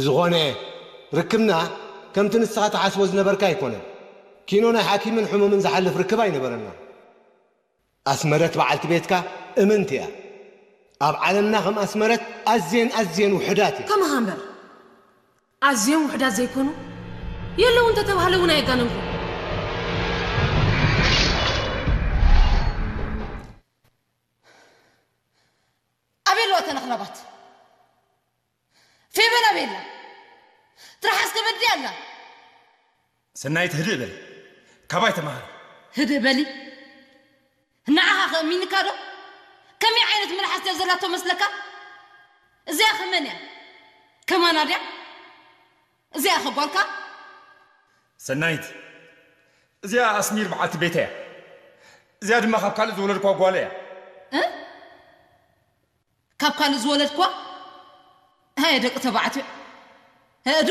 ዝኾነ ርክብና ከምቲ ንስኻ ትሓስቦ ዝነበርካ ኣይኮነን። ኪኖ ናይ ሓኪምን ሕሙምን ዝሓልፍ ርክብ ኣይነበረና። ኣስመረት በዓልቲ ቤትካ እምንቲ እያ። ኣብ ዓለምና ከም ኣስመረት ኣዝየን ኣዝየን ውሑዳት እያ። ከማኻ እምበር ኣዝዮም ውሑዳት ዘይኮኑ የለዉ እንተተባህለ እውን ኣየጋነንኩ። ኣበይ ኣለዋ እተን ኣኽላባት? ፌበን ኣበይ ኣላ? ትርሓስ ከበዲ ኣላ። ሰናይት ህድእ በሊ፣ ካባይ ተማሃሪ። ህድእ በሊ። ንዓኻ ከእሚንካ ዶ? ከመይ ዓይነት መልሓስ ድያ ዘላቶ መስለካ? እዚኣ ከመን እያ? ከማና ድያ? እዚኣ ከ ጓልካ? ሰናይት፣ እዚኣ ኣስሚር በዓልቲ ቤታ እያ። እዚኣ ድማ ካብ ካልእ ዝወለድኳ ጓለ እያ። እ? ካብ ካልእ ዝወለድኳ? ሃየ ደቂ ተባዕትዮ። ህእዱ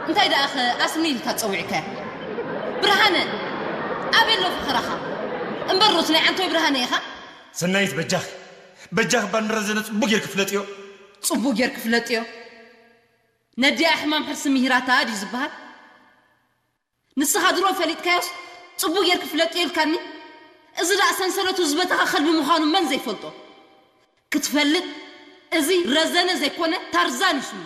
እንታይ ደኣ ኸ ኣስሚ ኢልካ ጸዊዕካያ? ብርሃነ፣ ኣበይ ኣሎ ፈኸራኻ? እምበር ሩት ናይ ዓንቶይ ብርሃነ ኢኻ? ሰናይት በጃኺ፣ በጃኺ እባ ንረዘነ ጽቡቕ ጌርኪ ፍለጥዮ። ጽቡቕ ጌርኪ ፍለጥዮ። ነዲኣ ሕማም ሕርሲ ምሂራታ ድዩ ዝበሃል? ንስኻ ድሮ ፈሊጥካዮስ ጽቡቕ ጌርኪ ፍለጥዮ ኢልካኒ? እዚ ደኣ ሰንሰለቱ ዝበተኸ ከልቢ ምዃኑ መን ዘይፈልጦ? ክትፈልጥ እዚ ረዘነ ዘይኮነ ታርዛን እዩ ሽሙ።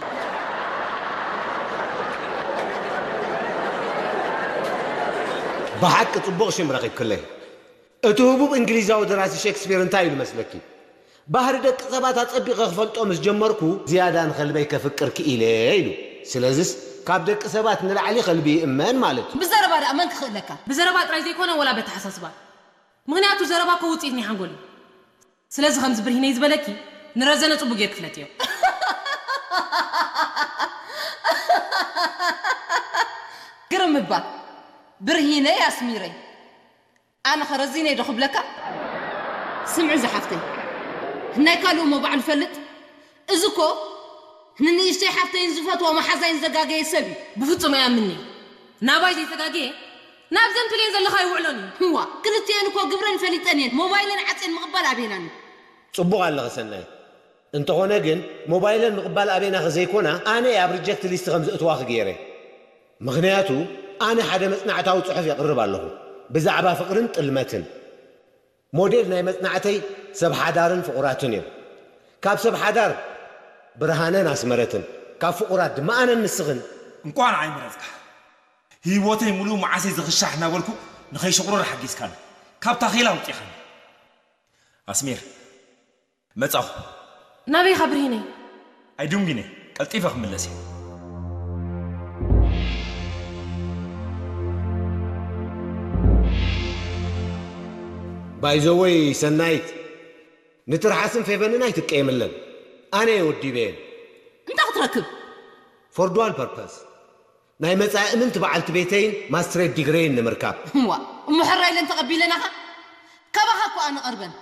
ብሓቂ ጽቡቕ ሽም ረኺብክለይ። እቲ ህቡብ እንግሊዛዊ ደራሲ ሼክስፒር እንታይ ኢሉ መስለኪ? ባህሪ ደቂ ሰባት ኣጸቢቐ ክፈልጦ ምስ ጀመርኩ፣ ዝያዳ ንኸልበይ ከፍቅር ክኢለ ኢሉ። ስለዝስ ካብ ደቂ ሰባት ንላዕሊ ከልቢ ይእመን ማለት እዩ። ብዘረባ ደኣ መን ክኽእለካ? ብዘረባ ጥራይ ዘይኮነ ወላ በተሓሳስባ። ምኽንያቱ ዘረባ እኮ ውጽኢት ናይ ሓንጎል እዩ። ስለዚ ከምዚ ብርሂነይ ዝበለኪ ንረዘነ ጽቡቕ ጌርኪ ፍለጥዮ። ግርም እባ ብርሂነይ ኣስሚረይ። ኣነ ከ ረዚነይ ዶ ክብለካ? ስምዒ ዝሓፍተይ፣ ናይ ካልእ እሞ ባዕሉ ይፈልጥ። እዚ እኮ ንንእሽተይ ሓፍተይን ዝፈትዋ መሓዛይን ዘጋገየ ሰብ እዩ። ብፍጹም ኣይኣምንን'የ። ናባይ ዘይተጋገየ ናብዘን ትልየን ዘለኻ ኣይውዕሎን እዩ። እዋ፣ ክልቲኤን እኮ ግብረን ፈሊጠን እየን። ሞባይለን ዓጽየን ምቕባል ኣበየናን እዩ። ጽቡቕ ኣለኺ ሰናይት። እንተኾነ ግን ሞባይለን ምቕባል ኣበየናኺ ዘይኮና ኣነ እየ ኣብ ሪጀክት ሊስት ከም ዘእትዋኺ ገይረ። ምኽንያቱ ኣነ ሓደ መጽናዕታዊ ጽሑፍ የቕርብ ኣለኹ ብዛዕባ ፍቕርን ጥልመትን። ሞዴል ናይ መጽናዕተይ ሰብ ሓዳርን ፍቑራትን እዮም። ካብ ሰብ ሓዳር ብርሃነን ኣስመረትን፣ ካብ ፍቑራት ድማ ኣነን ንስኽን። እንቋዕ ንዓይ መረጽካ። ህይወተይ ምሉእ መዓሰይ ዝኽሻሕ እናበልኩ ንኸይሽቑርር ሓጊዝካኒ። ካብ ታኼላ ኣውጺኻኒ። ኣስሚር፣ መጻኹ። ናበይኻ ብርሂነይ? ኣይድንጉይን እየ፣ ቀልጢፈ ክምለስ እየ። ባይዘወይ ሰናይት፣ ንትርሓስን ፌቨንን ኣይትቀየምለን። ኣነ እየ ወዲበየን። እንታይ ክትረክብ? For dual purpose። ናይ መጻኢ እምንቲ በዓልቲ ቤተይን ማስትሬት ዲግረይን ንምርካብ። እዋ፣ እሞ ሕራይ ኢለን ተቐቢለናኻ? ካባኻ እኮ ኣነ ቀርበን።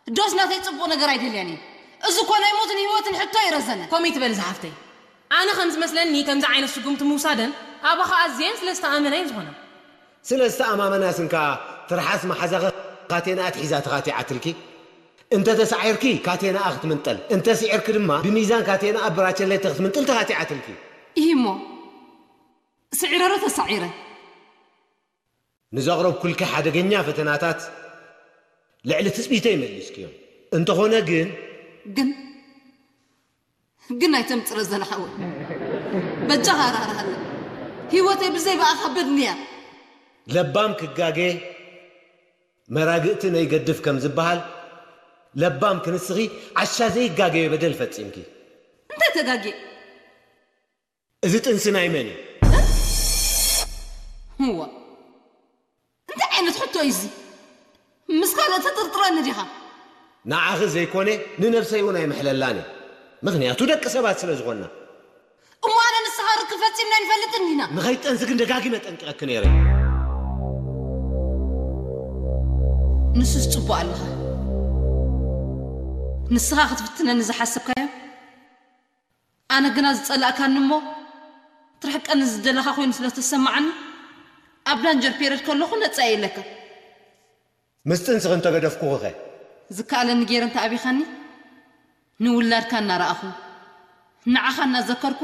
ዶስ ናተይ ጽቡቕ ነገር ኣይደልያን እየ። እዚ እኮ ናይ ሞትን ህይወትን ሕቶ እዩ ረዘነ። ኮሚት በል ዝሓፍተይ። ኣነ ከም ዝመስለኒ ከምዚ ዓይነት ስጉምቲ ምውሳደን ኣባኻ ኣዝየን ስለ ዝተኣመና እየን ዝኾና። ስለ ዝተኣማመናስ እንካ ትርሓስ መሓዛኺ ካቴና ኣትሒዛ ተኻቲዓትልኪ። እንተ ተሳዒርኪ ካቴናኣ ክትምንጠል፣ እንተ ስዒርኪ ድማ ብሚዛን ካቴናኣ ብራቸሌተ ክትምንጥል ተኻቲዓትልኪ። ኢሂ እሞ፣ ስዒረ ዶ ተሳዒረ? ንዘቕረብኩልኪ ሓደገኛ ፈተናታት ልዕሊ ትጽቢተይ መሊስክዮም። እንተኾነ ግን ግን ግን ኣይተምጽረ ዘለሓወይ። በጃኻ ራህራሃለይ። ህይወተይ ብዘይ ብኣኻ በድንያ። ለባም ክጋገ መራግእቲ ነይገድፍ ከም ዝበሃል፣ ለባም ክንስኺ ዓሻ ዘይጋገዮ በደል ፈጺምኪ። እንታይ ተጋግየ? እዚ ጥንሲ ናይ መን እዩ? እዋ፣ እንታይ ዓይነት ሕቶ እዩ እዚ? ምስ ካልኦት ተጥርጥረኒ ዲኻ? ንዓኺ ዘይኮነ ንነብሰይ እውን ኣይምሕለላን እየ። ምኽንያቱ ደቂ ሰባት ስለ ዝኾንና። እሞ ኣነ ንስኻ ርክብ ፈጺምና ኣይንፈልጥን ዲና? ንኸይትጠንሲ ግን ደጋጊመ ጠንቂቐኪ ነይረ። ንሱስ ጽቡቕ ኣለኻ። ንስኻ ክትፍትነኒ ዝሓሰብካዮ ኣነ ግና ዝጸላእካኒ እሞ ትርሕቀኒ ዝደለኻ ኮይኑ ስለ ተሰማዓኒ፣ ኣብ ዳንጀር ፔረድ ከለኹ ነጻ እየ ኢለካ። ምስ ጥንስኺ እንተገደፍኩኺኸ? ዝከኣለኒ ገይረ እንተ ኣቢኻኒ፣ ንውላድካ እናረኣኹ፣ ንዓኻ እናዘከርኩ